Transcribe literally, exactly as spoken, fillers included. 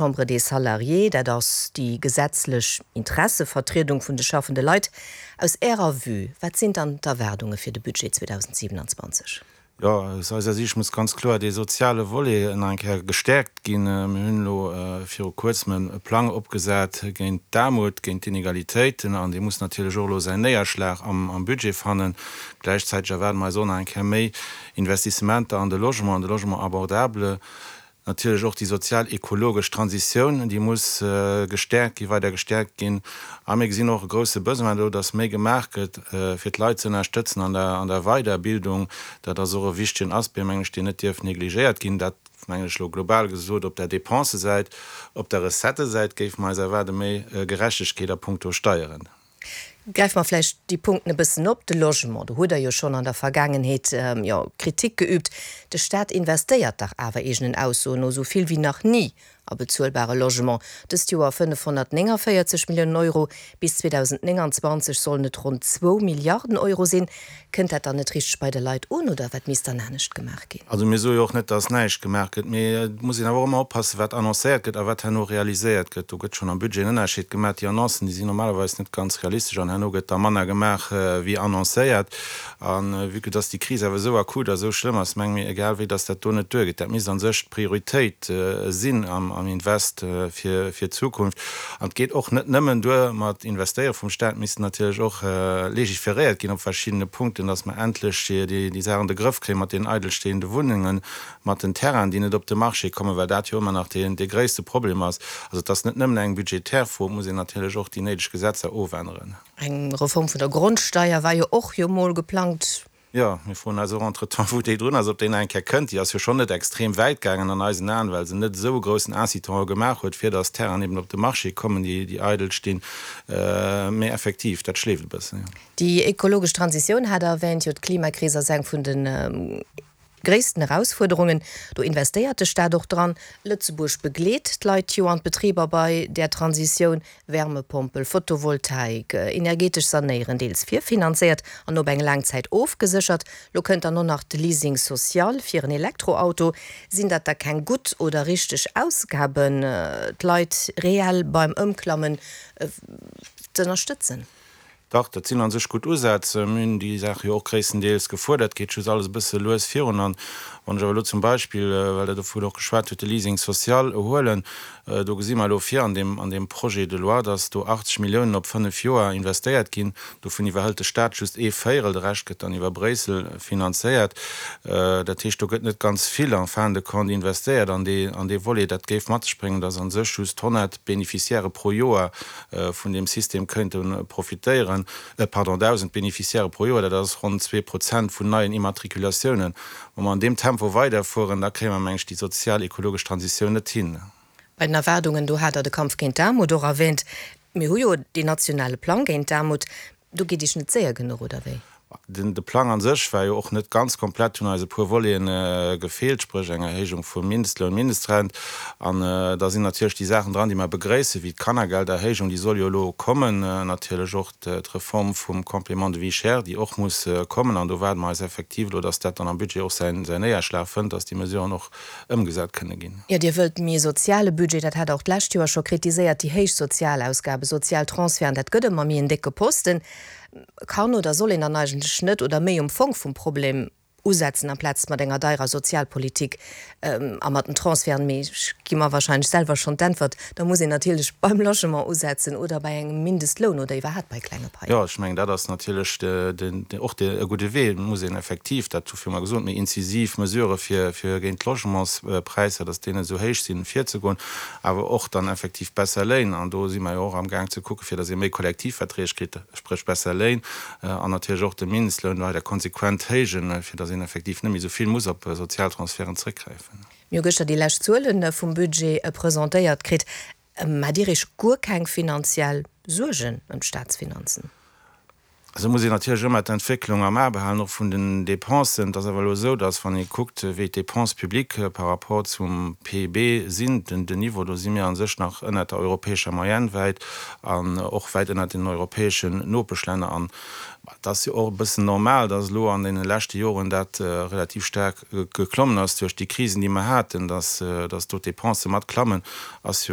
Chambre des Salariés, dat ass déi gesetzlech Interessevertriedung vun de schaffende Leit. Aus Ärer Vue, wat sinn dann d'Erwaardunge fir de Budget zweedausendsiwenanzwanzeg? Jo, aus eiser Siicht muss ganz kloer dee soziale Volet nach eng Kéier gestäerkt ginn. Mir hunn elo viru Kuerzem e Plang opgesat géint d'Aarmut, géint d'Inegalitéiten, an dee muss natierlech och elo säin Néierschlag am Budget fannen. Gläichzäiteg erwaarde mer eis och nach eng Kéier méi Investissementer an de Logement, an de Logement abordable. Natierlech och déi sozial-ekologesch Transitioun, déi muss gestäerkt ginn, weider gestäerkt ginn. A mir gesinn och e grouse Besoin do, dass méi gemaach gëtt, fir d'Leit ze ënnerstëtzen an der, an der Weiderbildung. Dat ass och e wichtegen Aspect, mengen ech, deen net dierf negligéiert ginn. Dat, mengen ech, elo global gesot op der Dépensesäit. Op der Recettësäit géife mer eis erwaarde méi Gerechtegkeet a puncto Steieren. Gräife mer vläicht déi Punkten e bëssen op. De Logement, do hutt Der jo schonn an der Vergaangenheet, jo, Kritik geübt. De Staat investéiert dach awer eegenen Aussoen no esou vill wéi nach ni a bezuelbare Logement. Dëst Joer fënnefhonnertnénganvéierzeg Milliounen Euro, bis zweedausendnénganzwanzeg sollen et ronn zwou Milliarden Euro sinn. Kënnt dat dann net richteg bei de Leit un oder wat misst dann anescht gemaach ginn? Also mir soe jo och net, datt näischt gemaach gëtt, mee et muss een awer och ëmmer oppassen, wat annoncéiert gëtt a wat herno realiséiert gëtt. Do gëtt schonn am Budget en Ënnerscheed gemaach. Déi Annoncen, déi sinn normalerweis net ganz realistesch an herno gëtt da manner gemaach wéi annoncéiert. A vue que datt déi Kris awer esou akut a esou schlëmm ass, menge mir, egal wéi, datt dat do net duergeet. Dat misst a sech d'Prioritéit sinn am Invest fir d'Zukunft. An et geet och net nëmmen duer mat Investéiere vum Staat, et misst natierlech och legiferéiert ginn op verschiddene Punkten, datt mer endlech déi Saach an de Grëff kréien mat deenen eidelstehende Wunnengen, mat den Terrainen, déi net op de Marché kommen, well dat jo ëmmer nach dee gréisste Problem ass. Also et ass net nëmmen eng budgetär Fro, et muss een natierlech och déi néideg Gesetzer ofänneren. Eng Reform vun der Grondsteier war jo och jo mol geplangt. Jo, mir froen eis och entretemps, wou déi drun ass, ob déi nach eng Kéier kënnt. Déi ass jo schonn net extrem wäit gaangen an eisen Aen, well se net esou e groussen Incitant gemaach huet, fir datt Terrainen eben op de Marché kommen, déi, déi eidel stinn. Mee effektiv, dat schleeft e bëssen, jo. Déi ekologesch Transitioun hat Der erwähnt. Jo, d'Klimakris ass eng vun de gréissten Erausfuerderungen. Do investéiert de Staat och dran. Lëtzebuerg begleet d'Leit jo an d'Betriber bei där Transitioun, Wärmepompel, Photovoltaik, energetesch Sanéieren, deels virfinanzéiert an op eng laang Zäit ofgeséchert. Lo kënnt dann och nach de Leasing social fir en Elektroauto. Sinn dat da keng gutt oder richteg Ausgaben, d'Leit reell beim Ëmklammen z'ënnerstëtzen? Dach, dat sinn a sech gutt Usätz. Mir hunn déi Saach jo och gréisstendeels gefuerdert. Et geet just alles e bësse lues virun. An wann ech awer elo zum Beispill, well Der dovun och geschwat hutt, de Leasing social huelen, do gesi mer elo vir an deem, an deem Projet de loi, dass do achtzeg Milliounen op fënnef Joer investéiert ginn. Dovun iwwerhëlt de Stat just ee Véierel, de Rescht gëtt dann iwwer Bréissel finanzéiert. Dat heescht, do gëtt net ganz vill en fin de compte investéiert an dee, an dee Volet. Dat géif mat sech bréngen, dass a sech just honnert Bénéficiairë pro Joer vun deem System könnte profitéieren, pardon, dausend Bénéficiairë pro Joer, dat ass ronn zwee Prozent vun neien Immatrikulatiounen. Wa mer an deem Tempo weiderfueren, da kréie mer, meng ech, déi sozial-ekologesch Transitioun net hin. Bei den Erwaardungen, do hat Der de Kampf géint d'Aarmut och erwähnt. Mir hu jo deen nationale Plang géint d'Aarmut. Do geet Iech net séier genuch, oder wéi? Den de Plang an sech war jo och net ganz komplett, hunn eis e puer Voleten gefeelt, spréch eng Erhéijung vum Mindestloun, Mindestrent. An da sinn natierlech déi Saachen dran, déi mer begréissen, wéi d'Kannergelderhéijung, déi soll jo elo kommen, natierlech och d'Reform vum Complément de vie chère, déi och muss kommen. An do waarde mer eis effektiv elo, dass dat dann am Budget och säin Néierschlag fënnt, dass déi Mesuren och ëmgesat kënne ginn. Jo, Dir wëllt méi e soziale Budget, dat hat Der och d'lescht Joer scho kritiséiert, déi héich Sozialausgaben, Sozialtransferten, dat gëtt ëmmer méi en décke Posten. Kann oder soll een dann eigentlech net oder méi um Fong vum Problem usetzen, amplaz mat enger deirer Sozialpolitik a mat den Transferten? Mee ech gi mer wahrscheinlech selwer schonn d'Äntwert, da muss een natierlech beim Logement usetzen oder bei engem Mindestloun oder iwwerhaapt bei klenge Paien. Jo, ech mengen, dat ass natierlech och e gudde Wee. Et muss een effektiv, dat hu viru mer gesot, méi incisiv Mesurë fir géint d'Logementspräisser, datt déi net esou héich sinn, virzegoen, awer och dann effektiv besser Léin. An do si mer jo och amgaang ze kucken, fir datt ee méi Kollektivverträg kritt, spréch besser Léin, an natierlech och de Mindestloun weider konsequent héijen, fir datt een effektiv net méi esou vill muss op Sozialtransferten zréckgräifen. Mir hu gëschter déi lescht Zuele vum Budget presentéiert kritt. Maacht Dir Iech guer keng finanziell Suergen ëm d'Staatsfinanzen? Also muss een natierlech ëmmer d'Entwécklung am A behalen, och vun den Dépensen. Et ass awer elo esou, datt, wann ee kuckt, wéi d'Dépenses publiques par rapport zum P I B sinn, den Niveau, do si mir a sech nach ënnert der europäescher Moyenne wäit an och wäit ënnert den europäeschen Nopeschlänner. An et ass jo och e bëssen normal, datt elo an deene leschte Joren dat relativ staark geklommen ass duerch déi Krisen, déi mer haten, datt, datt do d'Dépensë mat klammen, ass jo.